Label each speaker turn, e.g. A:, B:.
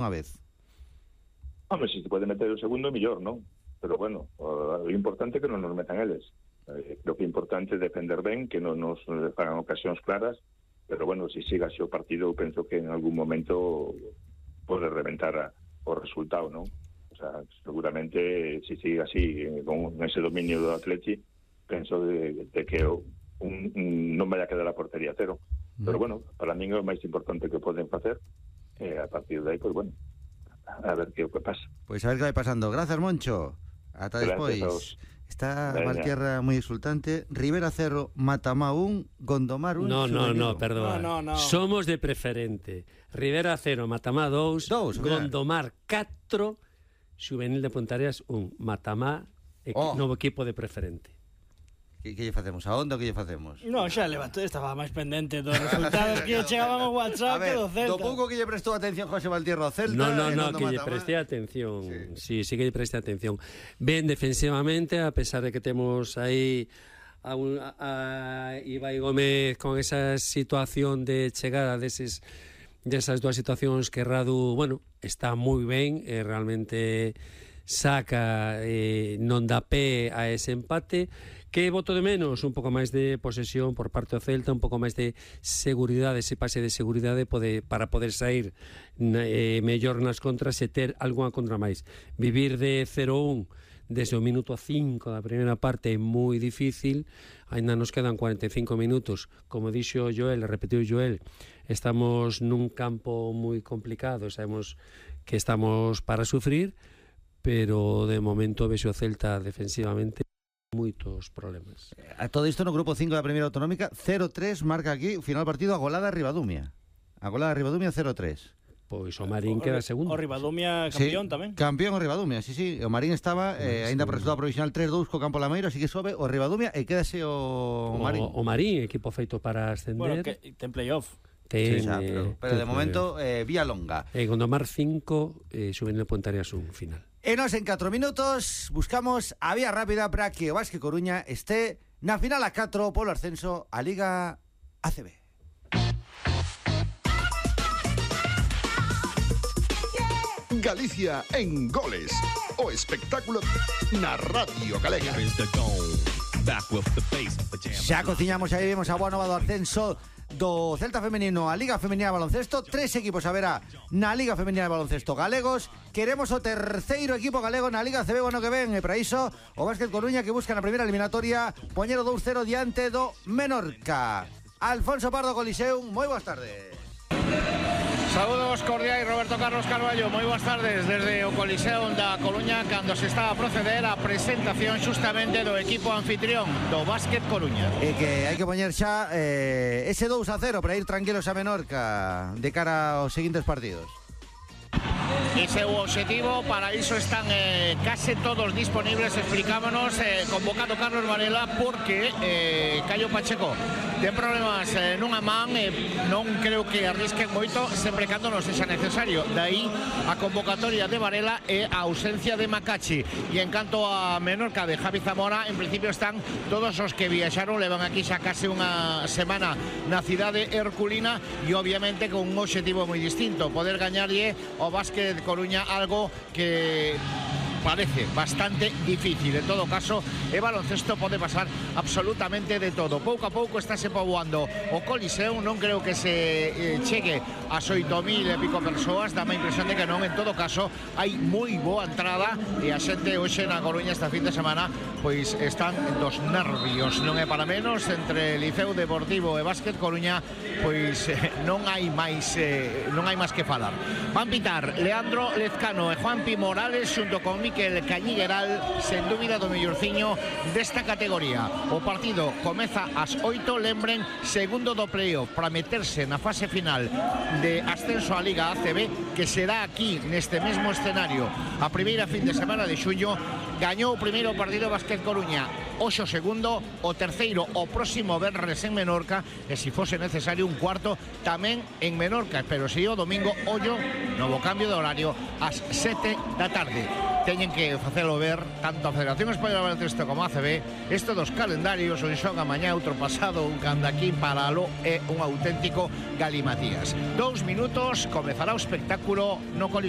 A: unha vez.
B: Hombre, se se pode meter o segundo, mellor, non? Pero bueno, o importante é que non nos metan eles. Creo que é importante defender ben, que non nos fagan ocasións claras, pero bueno, se siga así o partido, penso que en algún momento pode reventar o resultado, non? O sea, seguramente se sigue así, con ese dominio do Atleti, penso de que non vai a quedar a portería cero. Pero bueno, para mí é o máis importante que poden facer, a partir de aí, pois bueno, a ver que pasa.
A: Pois a ver que vai pasando. Grazas, Moncho. Ata despois. Está Valtierra moi exultante. Rivera 0, Matamá 1, Gondomar 1.
C: No, perdón.
D: No.
C: Somos de preferente. Rivera 0, Matamá 2, Gondomar 4, Xuvenil de Pontareas 1, Matamá, novo equipo de preferente.
A: Que lle facemos? A onda o que lle facemos?
D: No, xa levantou, estaba máis pendente dos resultados que chegaban ao WhatsApp que do Celta.
A: Do pouco que lle prestou atención José Valtierra ao Celta.
C: No, que lle preste atención. Sí, que lle preste atención. Ben defensivamente, a pesar de que temos aí a Ibai Gómez con esa situación de chegada desas dúas situacións que Radu, bueno, está moi ben, realmente saca, non dá pé a ese empate. Que voto de menos? Un pouco máis de posesión por parte do Celta, un pouco máis de seguridade, ese pase de seguridade para poder sair mellor nas contras e ter algunha contra máis. Vivir de 0-1 desde o minuto 5 da primeira parte é moi difícil, ainda nos quedan 45 minutos, como dixo Joel, repetiu Joel, estamos nun campo moi complicado, sabemos que estamos para sufrir, pero de momento vexo o Celta defensivamente moitos problemas.
A: A todo isto no grupo 5 da primeira autonómica, 0-3 marca aquí, final partido, a golada Ribadumia. A golada Ribadumia 0-3.
C: Pois o Marín queda segundo.
D: O Ribadumia campeón tamén.
A: Campeón o Ribadumia, sí. O Marín estaba aínda por resultado provisional 3-2 co Campo Lameiro, así que sobe o Ribadumia e quédase o Marín.
C: O Marín, equipo feito para ascender.
D: Bueno, que ten playoff.
A: Pero de momento vía longa.
C: Gondomar 5, Xuvenil de Pontareas 1 final.
A: E nos en 4 minutos buscamos a vía rápida para que o Basque Coruña este na final a 4 polo ascenso a Liga ACB.
E: Galicia en goles. O espectáculo na Radio Galega.
A: Xa cociñamos aí, vemos a boa nova do ascenso do Celta femenino a Liga Femenina de Baloncesto. 3 equipos haberá na Liga Femenina de Baloncesto galegos. Queremos o terceiro equipo galego na Liga CB o ano que ven, e para iso o Basket Coruña, que busca na primeira eliminatoria poñer o 2-0 diante do Menorca. Alfonso Pardo Coliseum, moi boas tardes.
F: Saúdos cordiais, Roberto Carlos Carballo, moi boas tardes desde o Coliseum da Coruña, cando se está a proceder a presentación xustamente do equipo anfitrión do Basket Coruña.
A: E que hai que poñer xa ese 2-0 para ir tranquilos a Menorca de cara aos seguintes partidos.
F: Ese é o objetivo, para iso están case todos disponibles, explicámonos, convocado Carlos Varela porque Caio Pacheco ten problemas nunha man, non creo que arrisquen moito sempre cando non sexa necesario, dai a convocatoria de Varela e a ausencia de Macachi. E en canto a Menorca de Javi Zamora, en principio están todos os que viaxaron, levan aquí xa case unha semana na cidade herculina, e obviamente con un objetivo moi distinto, poder gañarlle ao Basket Coruña, algo que parece bastante difícil. En todo caso, e baloncesto pode pasar absolutamente de todo. Pouco a pouco estáse poboando o Coliseum, non creo que se chegue ás 8.000 e pico persoas, dá a impresión de que non. En todo caso, hai moi boa entrada e a xente hoxe na Coruña esta fin de semana pois están dos nervios, non é para menos. Entre Liceo Deportivo e Basket Coruña pois non hai máis que falar. Van pitar Leandro Lezcano e Juanpi Morales xunto con Miquel Cañigueral, sen dúbida do mellorciño desta categoría. O partido comeza ás 8, lembren, segundo do playoff para meterse na fase final de ascenso á Liga ACB, que será aquí neste mesmo escenario a primeira fin de semana de xullo. Gañou o primeiro partido Basket Coruña, hoxe o segundo, o terceiro o próximo venres en Menorca, e se fose necesario un cuarto tamén en Menorca, pero se o domingo, ollo, novo cambio de horario ás 7 da tarde. Teñen que facelo ver tanto a Federación Española de Baloncesto como a ACB. Isto dos calendarios, un xoga mañá, outro pasado, un canda aquí, paralo, é un auténtico galimatías. 2 minutos, comezará o espectáculo no Coliseo.